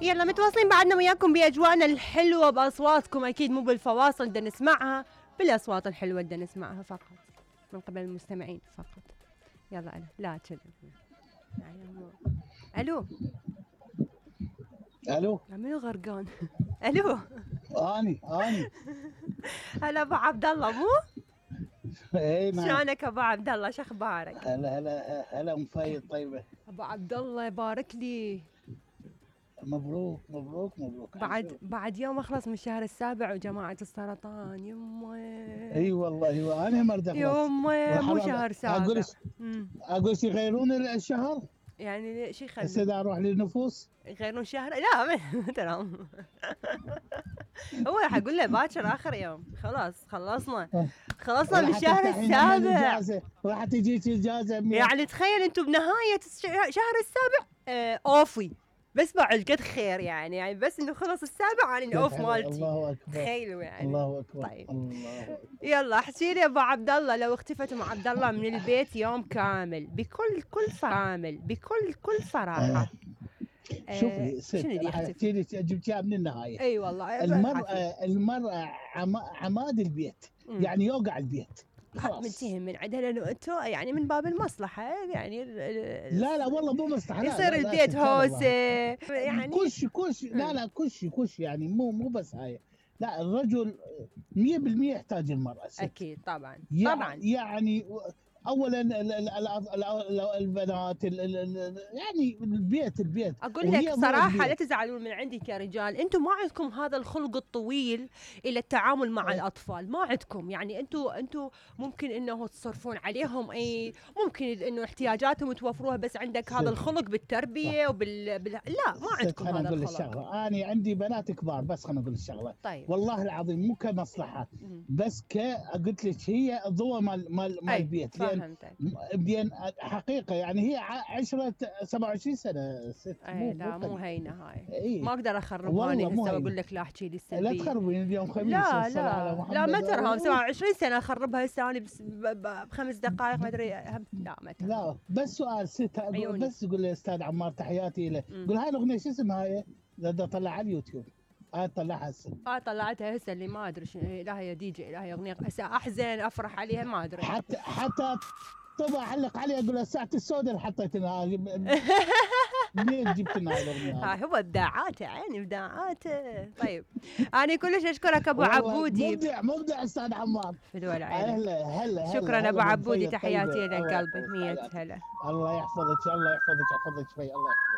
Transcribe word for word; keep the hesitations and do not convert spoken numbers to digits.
يلا متواصلين بعدنا وياكم باجواءنا الحلوه باصواتكم، اكيد مو بالفواصل بدنا نسمعها، بالاصوات الحلوه بدنا نسمعها فقط من قبل المستمعين فقط. يلا انا لا كذب. الو الو منو غرقان؟ الو اني اني هلا ابو عبد الله مو؟ اي نعم. شلونك ابو عبد الله؟ شو اخبارك؟ هلا هلا هلا ام فايد طيبه. ابو عبد الله يبارك لي. مبروك مبروك مبروك. بعد بعد يوم اخلص من الشهر السابع وجماعة السرطان. يمه اي والله ايوه انا مرض اخلص. يمه مو شهر سابع. اقول اقول يغيرون الشهر؟ يعني شو يخلون؟ هسه اروح للنفوس يغيرون شهر؟ لا ترى هو راح اقول له باكر اخر يوم. خلاص خلصنا خلصنا من الشهر السابع. راح تجيك اجازه. يعني تخيل انتم بنهايه الشهر السابع آه اوفي، بس بعد قد خير يعني يعني بس انه خلص السابع يعني الاوف مالتي. الله اكبر. تخيلوا يعني. الله اكبر. طيب الله أكبر. يلا احكي لي ابو عبد الله، لو اختفت ام عبد الله من البيت يوم كامل بكل كل كامل بكل كل صراحه آه شوفي ست شنو اللي احكي لك جبتيها من النهايه. اي والله المراه المراه عماد البيت. مم. يعني يوقع البيت متهم من عندها لانه انتم يعني من باب المصلحه يعني لا لا والله مو مصلحه. يصير البيت هوسه يعني كش كش لا لا كش كش يعني مو مو بس هاي. لا الرجل مية بالمية يحتاج المرأة ست. اكيد طبعا طبعا يعني اولا البنات يعني البيت البيت اقول لك صراحه لا تزعلون من عندي كرجال، انتم ما عندكم هذا الخلق الطويل الى التعامل مع الاطفال، ما عندكم يعني انتم انتم ممكن انه تصرفون عليهم اي ممكن انه احتياجاتهم توفروها، بس عندك هذا الخلق بالتربيه وبال بال... لا ما عندكم هذا أقول الخلق. الشغله انا عندي بنات كبار بس خليني اقول الشغله. طيب. والله العظيم مو كمصلحه بس ك قلت لك هي الضوء مال مال مال البيت. بدين حقيقه يعني هي عشرة سبعة وعشرين سنه ست. اي لا مو هينه هاي. ايه؟ ما اقدر اخربها هسه واقول لك لا احكي لي السلبيه. لا تخربين اليوم خميس. لا لا لا ما ترهم سبعة وعشرين سنه اخربها هسه انا بخمس دقائق ما ادري. لا ما ترهم. لا بس سؤال ست بس قول لي استاذ عمار تحياتي له. قول هاي الاغنيه شو اسمها هاي؟ بدي اطلعها على اليوتيوب. اه طلعها هسه. اه طلعتها هسه اللي ما ادري شنو. لا هي دي جي لا هي اغنيه هسه احزن افرح عليها ما ادري. حتى حتى طبعا علق علي اقول له ساعه السوداء اللي حطيتها منين جبت لنا هاي الاغنيه؟ ها هو ابداعاته عيني ابداعاته. طيب انا كلش اشكرك ابو عبودي. مبدع مبدع استاذ عمار. فدوى عيني. هلا هلا شكرا ابو عبودي تحياتي لك قلبي. مية هلا. الله يحفظك الله يحفظك يحفظك شوي الله يحفظك.